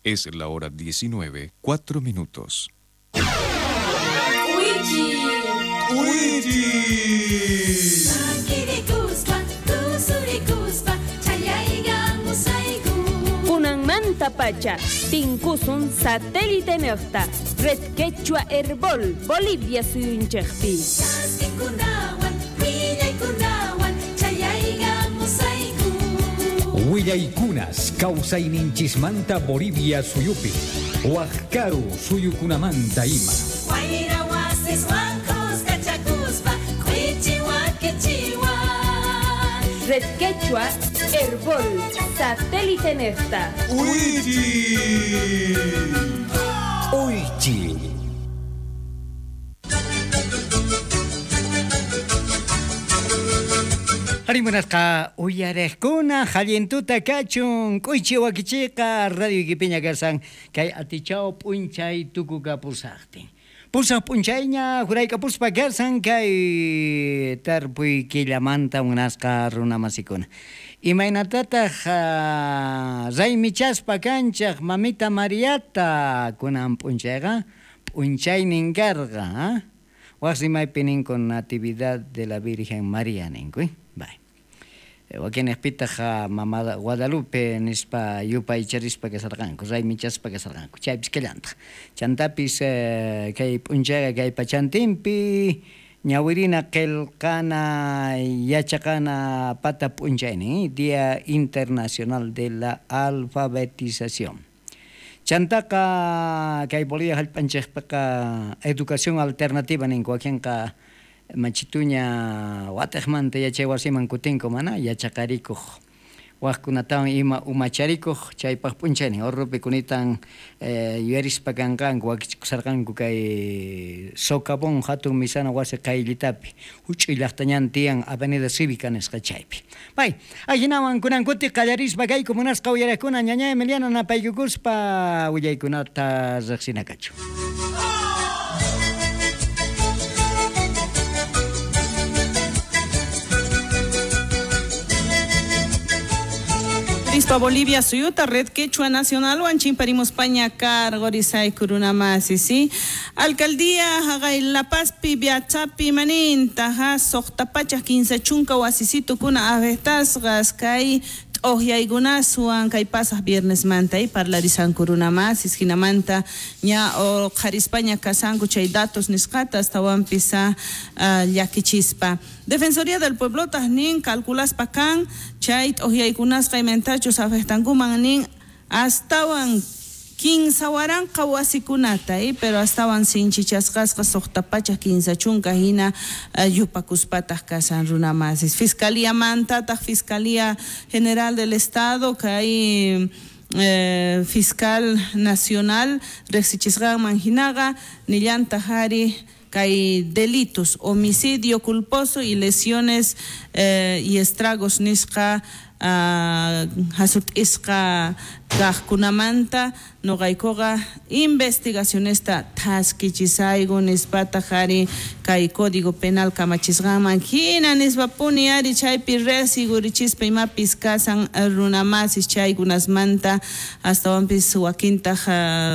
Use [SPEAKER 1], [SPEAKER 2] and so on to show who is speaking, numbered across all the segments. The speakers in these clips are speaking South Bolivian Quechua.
[SPEAKER 1] Es la hora 19, 4 minutos.
[SPEAKER 2] Kunanmantapacha tinkusun satélite niqta Red Quechua Herbol Bolivia suyunchikpi.
[SPEAKER 3] Willaykunas kawsayninchismanta Bolivia suyupi, waqkaru suyukunamanta ima.
[SPEAKER 2] Red Quechua Herbol satélite niqta.
[SPEAKER 3] Uychi.
[SPEAKER 4] Harimunasqa uyariqkuna hallintuta kachun k'uychi wakichiqa radio ikipiña kasan kay atichaw p'unchay tukukapusaqtin. Pusaq p'unchayña juraykapuspa kasan kay tarpuy killamanta munasqa runamasikuna. Imaynatataq raymichaspa kanchaq mamita Mariata kunan p'unchayqa p'unchaynin karqa, waq rimaypi ninku Natividad de la Virgen María ninku. Bay. Wakinejpitaq mama Guadalupe nispa yupaycharispa kasarqanku, raymichaspa kasarqanku, chaypis kallantaq. Chantapis kay p'unchayqa kay pachantinpi ñawirina qillqana yachaqana pata p'unchaynin, Día Internacional de la Alfabetización. Chantaqa kay Bolivia hallp'anchikpiqa educación alternativa ninku, wakinqa machituña wataqmanta yachay wasiman kutinku mana yachaqarikuq waqkunatawan ima umacharikuq chaypaq p'unchaynin urrupi kunitan yuyarispa kanqanku wakichikusarqanku kay Socavón hatun misana wasi qayllitapi huch'uy llaqtañan tiyan Avenida Cívica nisqa chaypi. Pay, ajinawan kunan kuti qallarispa kayku munasqa uyariqkuna ñaña Emiliana napaykukuspa willaykunata riqsinakachu.
[SPEAKER 5] Rispa Bolivia suyuta Red Quechua Nacional Huanchimparimos Paña Cargorizay Kurunamasi, ¿sí? Alcaldía Jagay La Pazpi Biachapi Maninta ja Soqtapacha 15 chunka wasisitu kuna avestasgas kay t'uqyaykunaswan kay pasaq viernes manta y parlarisan kurunamasis jinamanta ña qharispaña kasanku chay datos nisqata astawanpis llakichispa. Defensoría del Pueblo nin calculaspa kan chay t'uqyaykunasqa imentachus afectankuman nin astawan 15 waranqa wasikunata, pero astawan sinchichasqasqa suqta pacha 15 chunka hina yupakuspataq kasan runamasis. Fiscalía mantataq Fiscalía General del Estado kay Fiscal Nacional riqsichisqanman hinaqa nillantaq ari kay delitos, homicidio culposo y lesiones y estragos nisqa hasut'isqa kaqkunamanta noqaykuqa investigacionesta thaskichisayku nispataq ari kay Código Penal kamachisqanman hina nispapuni ari chaypi riqsigurichispa imapis kasan runamasis chaykunasmanta astawanpis wakintaq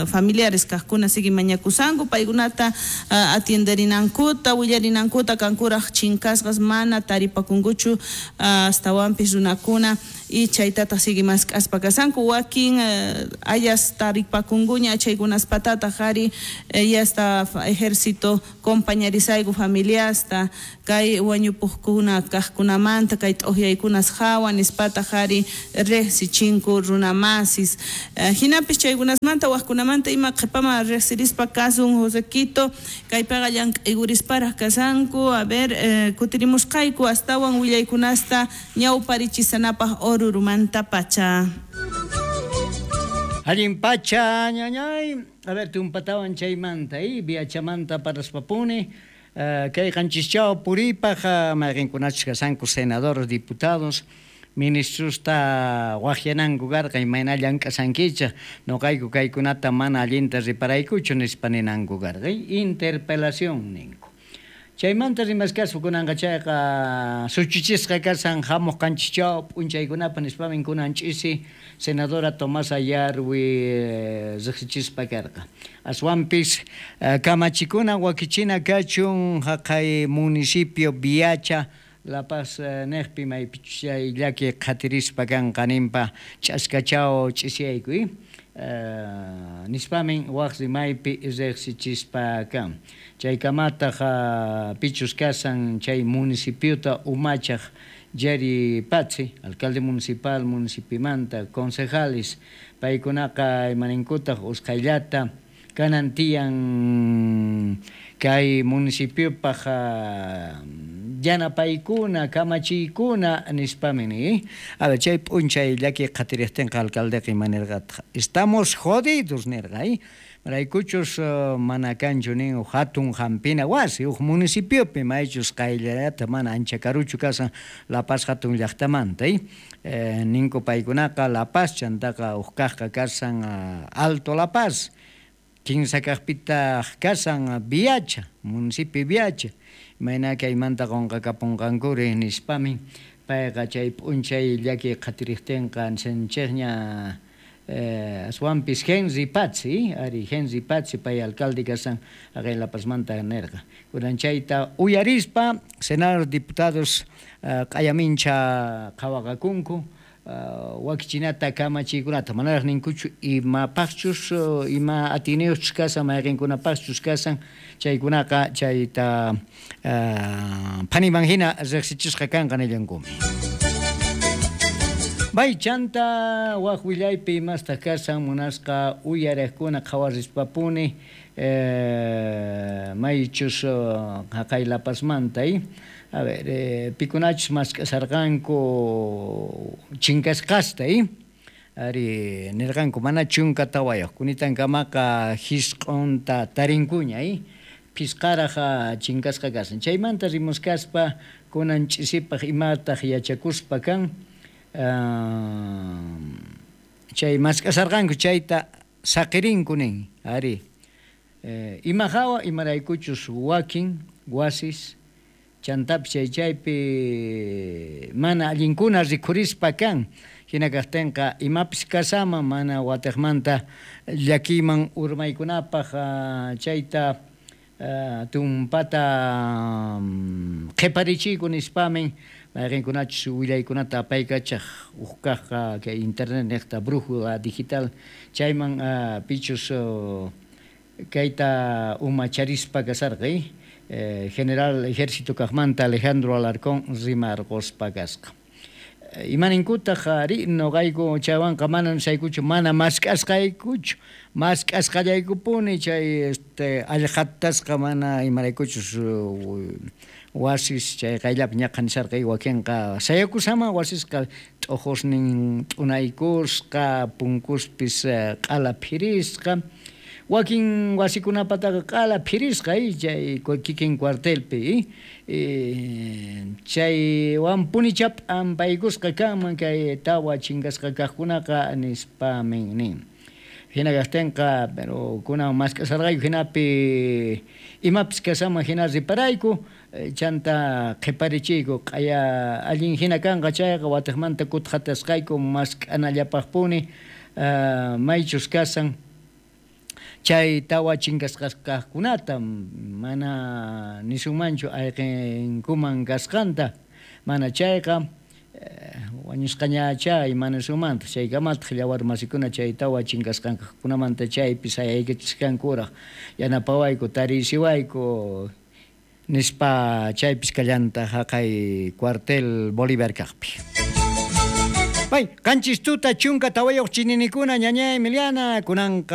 [SPEAKER 5] familiares kaqkuna sigui mañakusanku paykunata atienderinankuta willarinankuta kankuraq chinkasqas mana taripakunkuchu astawanpis runakuna y chaytataq sigui mask'aspa kasanku wakin ayas taripakunkuña chaykunaspatataq ari yasta ejército compañerisayku familiasta kay wañupuqkuna kaqkunamanta kay t'uqyaykunas hawa nispataq ari riqsichinku runamasis. Hinapis chaykunasmanta waqkunamanta ima qhipama riqsirispa kasun Josequito kaypiqa llank'aykurisparaq kasanku. A ver, kutirimusqayku astawan willaykunasta ñawparichisanapaq Orurumanta pacha.
[SPEAKER 4] Allin pacha, ñañay. A ver, tumpatawan chaymanta, viachamanta paraspapuni. Kay qanchischao puripaq mayqinkunachus kasanku senadores, diputados, ministrosta waqyananku karqa imayna llank'asankichaq noqayku kaykunata mana allinta riparaykuchu nispa ninanku karqa. Interpelación ninku. Chaymanta rimaskaspa kunanqa chayqa suchuchisqa kasan hamuq qanchischaw p'unchaykunapaq nispamin kunan ch'isi senadora Tomasa Yarwi riqsichispa karqa. Aswanpis kamachikuna wakichina kachun haqay municipio Viacha La Paz neqpi maypichus chay llaki qhatirispa kanqa ninpa ch'askachaw ch'isiyayku nispamin waq rimaypi riqsichispa kan. Chaykamataq pichus kasan chay municipiota umachaq Jerry Patzi, alcalde municipal municipimanta, concejales, paykunaqa imaninkutaq usqhayllata kanan tiyan kay municipiopaq yanapaykuna, kamachiykuna nispamin ni. A ver, chay p'unchay llaki qhatiriqtinqa alcaldeqa ima nirqataq, estamos jodidos nirqa, maraykuchus mana kanchu nin huk hatun hampina wasi huk municipiopi maychus qayllallata mana ancha karuchu kasan La Paz hatun llaqtamanta, ninku paykunaqa La Paz chantaqa huk kaqqa kasan Alto La Paz, kinsa kaqpitaq kasan Viacha, municipio Viacha, imayna kaymanta qunqakapunqankuri nispamin payqa chay p'unchay llaki qhatiriqtinqa nishanchikña aswanpis Henry Patzi, ari Henry Patzi pay alcalde kasan haqay La Pazmanta nirqa. Kunan chayta uyarispa senadores diputados q'ayamincha qhawaqakunku wakichinata kamachiykunata manaraq ninkuchu imapaqchus ima atiyniyuqchus kasan mayqinkunapaqchus kasan chaykunaqa chayta phaniman hina riqsichisqa kanqa nillankumi. Bay chanta waq willaypi imastaq kasan munasqa uyariqkuna qhawarispapuni maychus haqay La Pazmanta, a ver, pikunachus mask'asarqanku chinkasqasta, ari nirqanku mana 14 kunitankamaqa hisq'unta tarinkuña, phisqaraq chinkasqa kasan. Chaymanta rimuskaspa kunan ch'isipaq imataq yachakuspa kan chay mask'asarqanku chayta saqirinku nin, ari ima hawa imaraykuchus wakin wasis chantapis chay chaypi mana allinkuna rikhurispa kan, hina kaqtinqa imapis kasama mana watiqmanta llakiyman urmaykunapaq chayta tumpata qhiparichiyku nispamin mayqinkunachus willaykunata apaykachaq huk kaqqa kay internet niqta brújula digital chayman pichus kayta umacharispa kasarqa, general ejército kaqmanta Alejandro Alarcón rimarquspa kasqa. Imaninkutaq ari noqayku chaywanqa mana nisaykuchu mana mask'asqaykuchu mask'asqallaykupuni chay allqatasqa mana imaraykuchus wasis chay qayllapi ñaqa nisarqa wakinqa sayakusama wasisqa t'uqusnin t'unaykusqa punkuspis q'ala phirisqa wakin wasikunapataqa q'ala phirisqa chay kikin cuartelpi chaywanpunicha p'ampaykusqa kanman kay tawa chinkasqa kaqkunaqa nispamin nin. Hina kaqtinqa pero kunan mask'asarqayku hinapi imapis kasaman hina riparayku chanta qhiparichiyku q'aya allin hina kanqa chayqa watiqmanta kutqatasqayku mask'anallapaqpuni maychus kasan chay tawa chinkasqa kaqkunata mana nisunmanchu ayqinkuman kasqanta mana chayqa wañusqañacha imana sumanta chaykamataq yawar masikuna chay tawa chinkasqankunamanta chaypi sayaykichisqankuraq yanapawayku tarisiwayku nispa chaypis kallanta haqay cuartel Bolívar kaqpi. Bay, qanchis tuta 14 chininikuna ñaña Emiliana kunanqa.